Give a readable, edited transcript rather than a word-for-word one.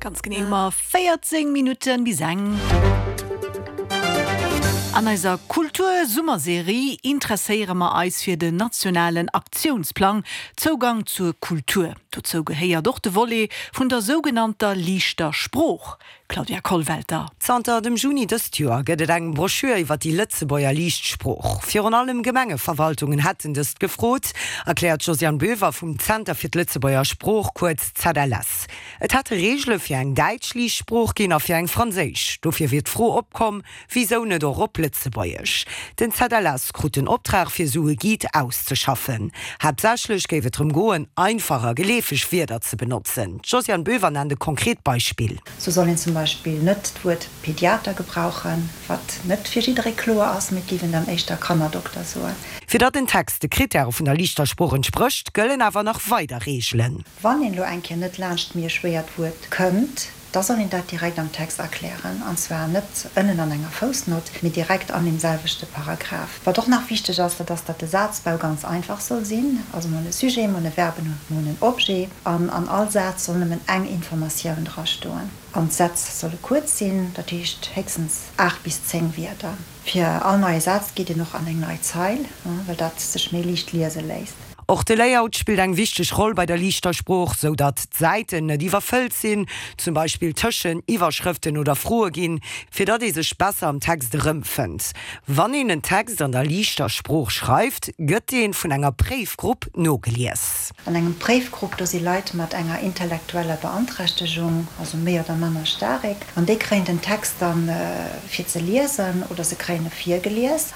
Ganz genee hu mer 14 Minutten bis eng. An eiser Kultur-Summerserie interesséiere mer eis fir den nationalen Aktiounsplang Zougang zur Kultur. Dozou gehéiert och de Volet vun der sougenannter liichter Sprooch. Claudia Kollwelter. Zanter dem Juni dëst Joer gëtt et eng Broschür iwwer déi Lëtzebuerger Liicht Sprooch. Virun allem Gemengeverwaltungen hätten dëst gefrot, erkläert d'Josiane Boever vum Zenter fir d'Lëtzebuerger Sprooch, kuerz ZLS. Et hätte Reegele fir eng däitsch Liicht Sprooch ginn a fir eng franséisch. Dofir wier d'Fro opkomm, Wisou net och op Lëtzebuergesch? Den ZLS krut den Optrag fir esou e Guide auszeschaffen. Haaptsächlech géif et drëm goen, einfach a geleefeg Wierder ze benotzen. D'Josiane Boever nennt e konkret Beispill. Sou soll een zum Beispill net d'Wuert Pediater gebrauchen, wat net fir jidderee kloer ass, mee et géif een dann éischter Kannerdokter soen. Fir datt en Text de Krittäre vun der liichter Sprooch entsprécht, gëllen awer nach weider Reegelen. Wann een elo eng Kéier net laanscht méi e schwéiert Wuert kënnt, da soll een dat direkt am Text erklären, an zwar net ënnen an enger Foussnott, mee direkt an deem selwechte Paragraph. Wat och nach wichteg ass, dat ass, datt de Sazbau ganz einfach soll sinn, also mol e Sujet, mol e Verbe, mol en Objet, an an all Saz soll nëmmen eng Informatioun drastoen. An d'Sätz solle kuerz sinn, dat heescht héchstens 8 bis 10 Wierder. Fir all neie Saz geet een och an eng nei Zeil, well dat sech méi liicht liese léisst. Och de Layout spillt eng wichteg Roll bei der liichter Sprooch, sou datt d'Säiten net iwwerfëllt sinn, zum Beispill tëschen Iwwerschrëften oder Froe ginn, fir datt ee sech besser am Text erëmfënnt. Wann een en Text an der liichter Sprooch schreift, gëtt dee vun enger Préifgrupp nogelies. An engem Préifgrupp, do si Leit mat enger intellektueller Beanträchtegung, also méi oder manner staarek, an déi kréien den Text dann fir ze liesen oder se kréien e virgelies.